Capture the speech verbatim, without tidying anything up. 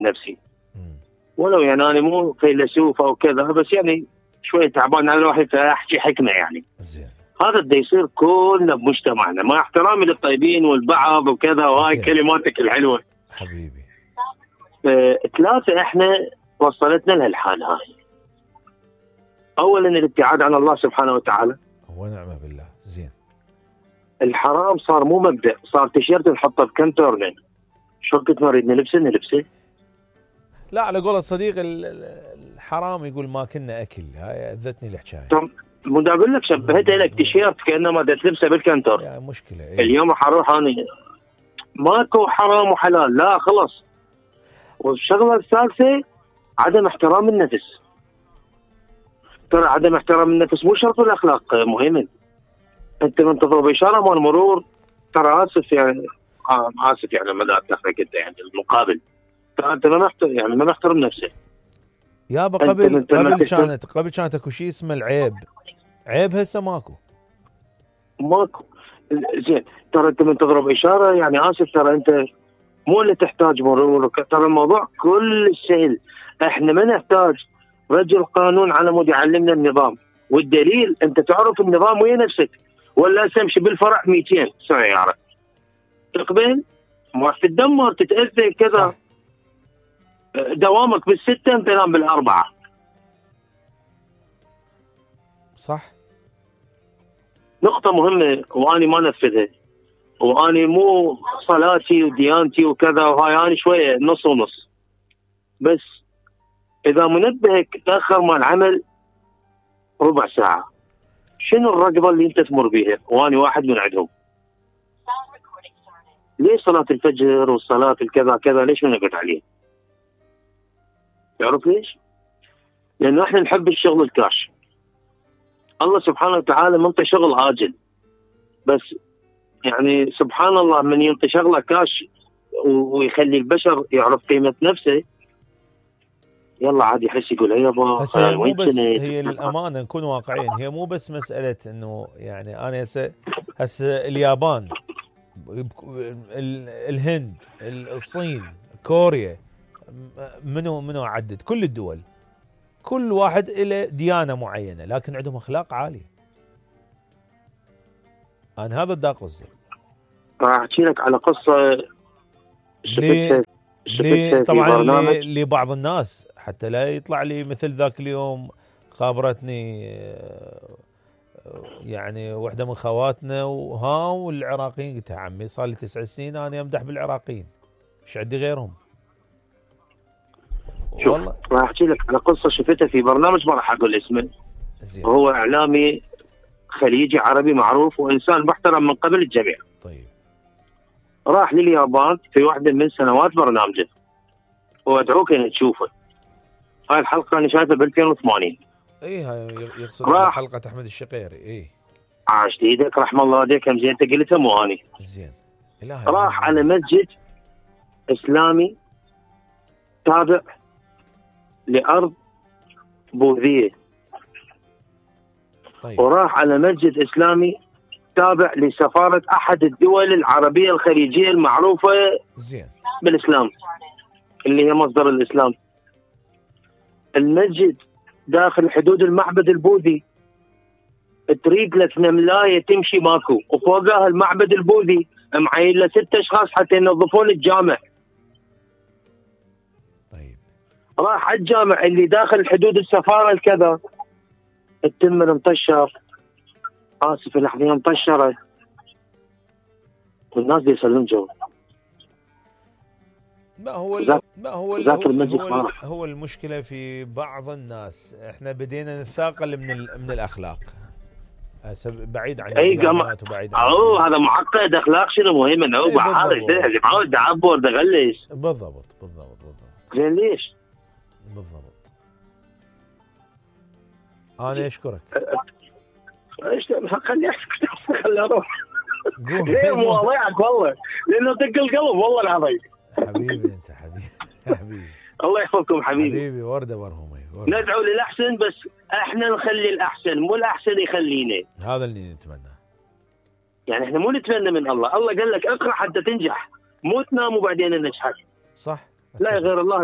نفسي. ولو يعني انا مو فيلسوف او كذا، بس يعني شويه تعبان على الواحد احكي حكمه يعني. زين. هذا بده يصير كلنا بمجتمعنا مع احترامي للطيبين والبعض وكذا، وهاي كلماتك الحلوه حبيبي. ثلاثه احنا وصلتنا لهالحال هاي. اولا الابتعاد عن الله سبحانه وتعالى ونعم بالله. زين. الحرام صار مو مبدأ، صار تيشيرت نحطه بكنترنا، شو كنت نريد نلبسه نلبسه. لا على قولة صديق الحرام يقول ما كنا اكل، هاي اذتني الحكايه. طب مو دا اقول لك شبهتها لك تيشيرت كانما دا تلبسه بالكنتر. يعني مشكله إيه؟ اليوم حروح انا ماكو حرام وحلال، لا خلص. والشغله الثالثه عدم احترام النفس. ترى عدم احترام النفس مو شرط الاخلاق مهم. انت من تضرب اشاره مال مرور، ترى اسف يعني آه اسف يعني ما اتدخلك انت يعني المقابل، ترى انت ما محترم يعني ما محترم نفسك. يابا قبل قبل كانت قبل كانت اكو شيء اسمه العيب، عيب هسه ماكو. ماكو. زين ترى انت من تضرب اشاره يعني اسف، ترى انت مو اللي تحتاج مرور، ترى الموضوع كل سهل. احنا ما نحتاج رجل قانون على مود يعلمنا النظام، والدليل انت تعرف النظام ويا نفسك، ولا تمشي بالفرع مئتين سياره تقبل راح تتدمر تتاذى كذا. دوامك بالسته انت تنام بالاربعه. صح. نقطه مهمه واني ما نفذها، واني مو صلاتي وديانتي وكذا وهاي اني شويه نص ونص، بس اذا منبهك تاخر مال العمل ربع ساعه شنو الرقبه اللي انت تمر بيها؟ واني واحد من عندهم. ليش صلاه الفجر والصلاه الكذا كذا ليش ما نقعد عليه؟ تعرف ليش؟ لانه احنا نحب الشغل الكاش. الله سبحانه وتعالى منطي شغل عاجل، بس يعني سبحان الله من ينطي شغله كاش ويخلي البشر يعرف قيمه نفسه، يلا عادي يحس يقول يابا هسه مو بس هي للامانه نكون واقعيين، هي مو بس مساله انه يعني انا هسه هسه اليابان، الهند، الصين، كوريا، منو منو عدد كل الدول، كل واحد له ديانه معينه لكن عندهم اخلاق عاليه. انا هذا بدي اقصده. راح احكي لك على قصه شفتها شفتها طبعا لبعض الناس حتى لا يطلع لي مثل ذاك اليوم خابرتني يعني وحده من خواتنا وها والعراقيين، قلت يا عمي صار لي تسع سنين انا امدح بالعراقيين، ايش عندي غيرهم؟ والله راح احكي لك على قصه شفتها في برنامج ما راح اقول اسمه. زين. وهو اعلامي خليجي عربي معروف وانسان محترم من قبل الجميع. طيب. راح لليابان في واحده من سنوات برنامجه، وادعوك ان تشوفه. هاي الحلقه انا شايفها ب ألفين وثمانين. اي هاي يقصد حلقه احمد الشقيري. اي عاشت ايدك رحم الله والديك كم زين انت قلتها مو اني. زين. راح على مسجد اسلامي تابع لارض بوذيه. طيب. وراح على مسجد اسلامي تابع لسفاره احد الدول العربيه الخليجيه المعروفه زين بالاسلام اللي هي مصدر الاسلام. المسجد داخل حدود المعبد البوذي، تريد لك نملايه تمشي ماكو، وفوقها المعبد البوذي معين له ست اشخاص حتى ينظفون الجامع. طيب. راح على الجامع اللي داخل حدود السفاره الكذا، التم المطشر، اسف الاحذيه مطشره، والناس بيصلون جو. ما هو ما هو هو, هو المشكله في بعض الناس، احنا بدينا نتثاقل من من الاخلاق بعيد عن الديانات وبعيد عن اوه هذا معقد. اخلاق شنو مهم؟ انه هو هذا معود عبور دغلس. بالضبط بالضبط بالضبط. زين ليش؟ بالضبط. انا اشكرك. ايش خلي احكي خلي اروح. غير مواضيعك والله لانه دق القلب والله العظيم. حبيبي انت حبيبي حبيبي الله يحفظكم حبيبي. حبيبي ورده مرهومه. ندعو للاحسن بس احنا نخلي الاحسن مو الاحسن يخلينا. هذا اللي نتمناه. يعني احنا مو نتمنى من الله، الله قال لك اقرا حتى تنجح، مو تنام وبعدين نجحك. صح لا غير الله